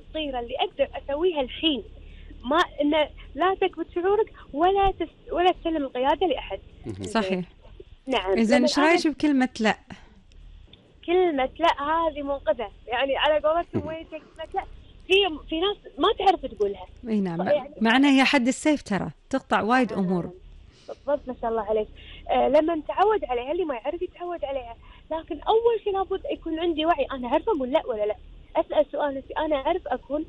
الصغيرة اللي أقدر أسويها الحين، ما إن لا تكبت شعورك ولا تسلم القيادة لأحد. صحيح. نعم. إذن إيش رأيك بكلمة لا؟ كلمة لا هذه منقذة، يعني على قولتهم وين كلمة لا في ناس ما تعرف تقولها. اي نعم، يعني مع انها هي حد السيف ترى تقطع وايد امور. بالضبط، ما شاء الله عليك. لما نتعود عليها، اللي ما يعرف يتعود عليها. لكن اول شيء لابد يكون عندي وعي، انا عارف اقول لا ولا لا. اسال سؤال نفسي، انا اعرف اكون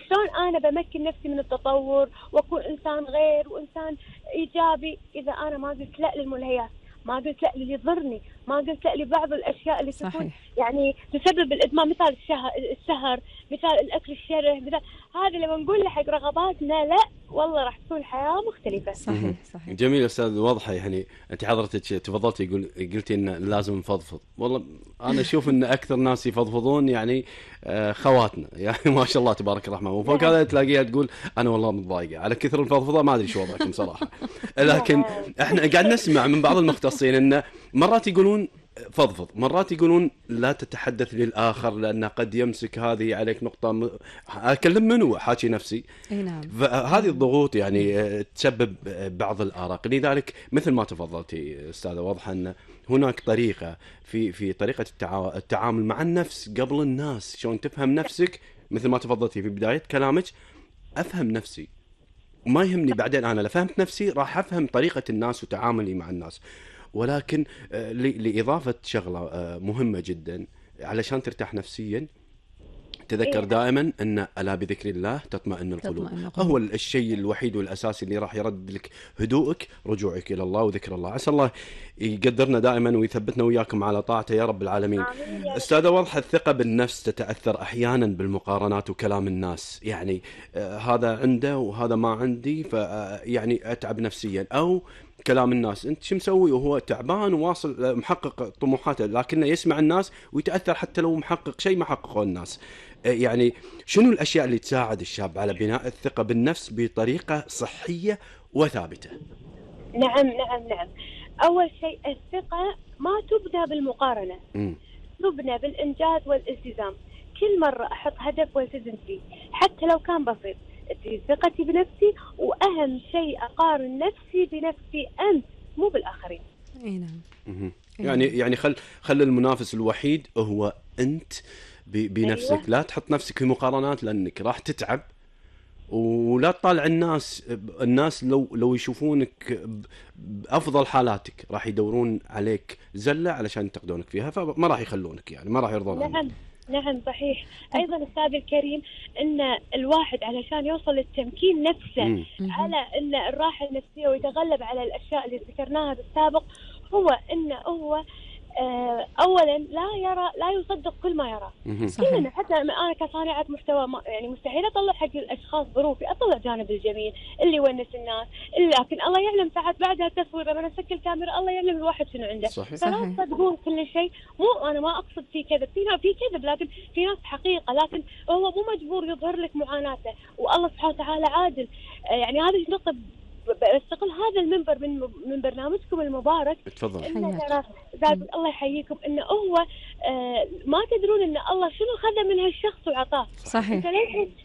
شلون انا بمكن نفسي من التطور واكون انسان غير وانسان ايجابي اذا انا ما قلت لا للملهيات، ما قلت لا اللي يضرني، ما قلت لا لبعض الاشياء اللي تكون يعني تسبب الادمان، مثال السهر، مثال الاكل الشره، مثال هذا لما نقول له حق رغباتنا لا، والله راح تكون الحياه مختلفه. صحيح. جميل استاذ، واضحه. يعني انت حضرتك تفضلتي قلتي ان لازم نفضفض. والله انا اشوف ان اكثر ناس يفضفضون يعني خواتنا، يعني ما شاء الله تبارك الرحمن. وفوق هذا تلاقيها تقول انا والله متضايقه على كثر الفضفضه، ما ادري شو وضعكم صراحه. لكن احنا قاعد نسمع من بعض المختصين ان مرات يقولون فضفض، مرات يقولون لا تتحدث للآخر لأن قد يمسك هذه عليك نقطة. أكلم منه حاكي نفسي. نعم. فهذه الضغوط يعني تسبب بعض الآراق. لذلك مثل ما تفضلتي أستاذة، واضح أن هناك طريقة في طريقة التعامل مع النفس قبل الناس. شلون تفهم نفسك مثل ما تفضلتي في بداية كلامك. أفهم نفسي وما يهمني بعدين أنا لفهمت نفسي راح أفهم طريقة الناس وتعاملي مع الناس. ولكن لإضافة شغلة مهمة جدا علشان ترتاح نفسيا، تذكر دائما أن ألا بذكر الله تطمئن القلوب. هو الشيء الوحيد والأساسي اللي راح يرد لك هدوءك، رجوعك إلى الله وذكر الله. عسى الله يقدرنا دائما ويثبتنا وياكم على طاعته يا رب العالمين. أستاذة، واضح الثقة بالنفس تتأثر أحيانا بالمقارنات وكلام الناس. يعني هذا عنده وهذا ما عندي، فيعني أتعب نفسيا. أو كلام الناس، انت شو مسوي وهو تعبان وواصل محقق طموحاته، لكنه يسمع الناس ويتأثر حتى لو محقق شيء ما حققه الناس. يعني شنو الأشياء اللي تساعد الشاب على بناء الثقة بالنفس بطريقة صحية وثابتة؟ نعم. أول شيء الثقة ما تبنى بالمقارنة، تبنى بالإنجاز والالتزام. كل مرة أحط هدف والتزم فيه حتى لو كان بسيط، ثقتي بنفسي. وأهم شيء أقارن نفسي بنفسي أنت، مو بالآخرين. اي نعم. يعني خل المنافس الوحيد هو أنت بنفسك. أيوة. لا تحط نفسك في مقارنات لأنك راح تتعب. ولا تطالع الناس لو يشوفونك بأفضل حالاتك راح يدورون عليك زلة علشان ينتقدونك فيها، فما راح يخلونك، يعني ما راح يرضون. نعم صحيح. أيضا أستاذ الكريم أن الواحد علشان يوصل للتمكين نفسه على أن الراحة النفسية ويتغلب على الأشياء اللي ذكرناها بالسابق، هو أنه هو أولا لا يصدق كل ما يرى. كلنا حتى أنا كصانعة محتوى يعني مستحيل أطلع حق الأشخاص ظروفي، أطلع جانب الجميل اللي يونس الناس. لكن الله يعلم ساعات بعدها التصوير لما نسكر الكاميرا الله يعلم الواحد شنو عنده. فلا تصدقون كل شيء. مو أنا ما أقصد في كذب، في كذب، لكن في ناس حقيقة. لكن هو مو مجبور يظهر لك معاناته، والله سبحانه وتعالى عادل. يعني هذه النقطة بستقل هذا المنبر من برنامجكم المبارك. تفضل. الله يحييكم. انه هو ما تدرون ان الله شنو خذ من هالشخص وعطاه. صحيح.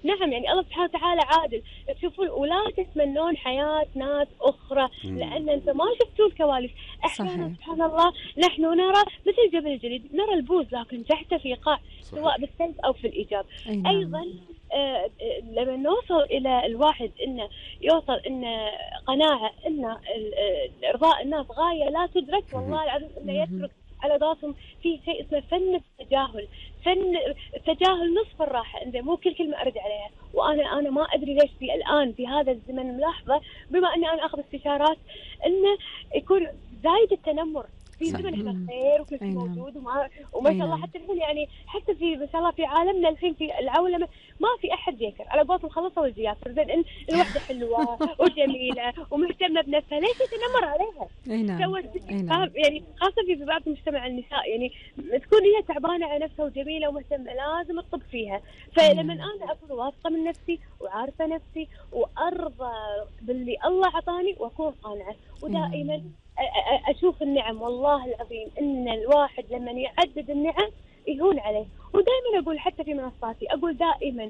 نعم. يعني الله سبحانه وتعالى عادل. تشوفون ولا تتمنون حياة ناس اخرى لان انت ما شفتوا الكواليس. احيانا سبحان الله نحن نرى مثل جبل الجليد، نرى البوز لكن تحت في قاع، سواء بالسلب او في الايجاب. ايضا لما نوصل إلى الواحد إنه يوصل إنه قناعة إنه إرضاء الناس غاية لا تدرك، والله العظيم إنه يترك على راسهم في شيء اسمه فن التجاهل. فن التجاهل نصف الراحة. إنه مو كل كلمة أرد عليها. وأنا ما أدري ليش الآن في هذا الزمن ملاحظة، بما أني أنا أخذ استشارات، إنه يكون زايد التنمر. في زمن احنا خير وكل شيء موجود وما شاء الله. حتى الحين يعني حتى في ما شاء الله في عالمنا الحين في العولمه ما في احد يكر على قولتهم خلصوا الجياسر. زين الوحده حلوه وجميله ومهتمه بنفسها، ليش تنمر عليها؟ يعني خاصه في بعض مجتمع النساء يعني تكون هي تعبانه على نفسها وجميله ومهتمه لازم تطب فيها. فلما انا اكون واثقه من نفسي وعارفه نفسي وارضى باللي الله عطاني واكون قانعه، ودائما أشوف النعم. والله العظيم إن الواحد لما يعدد النعم يهون عليه. ودائما أقول حتى في منصاتي أقول دائما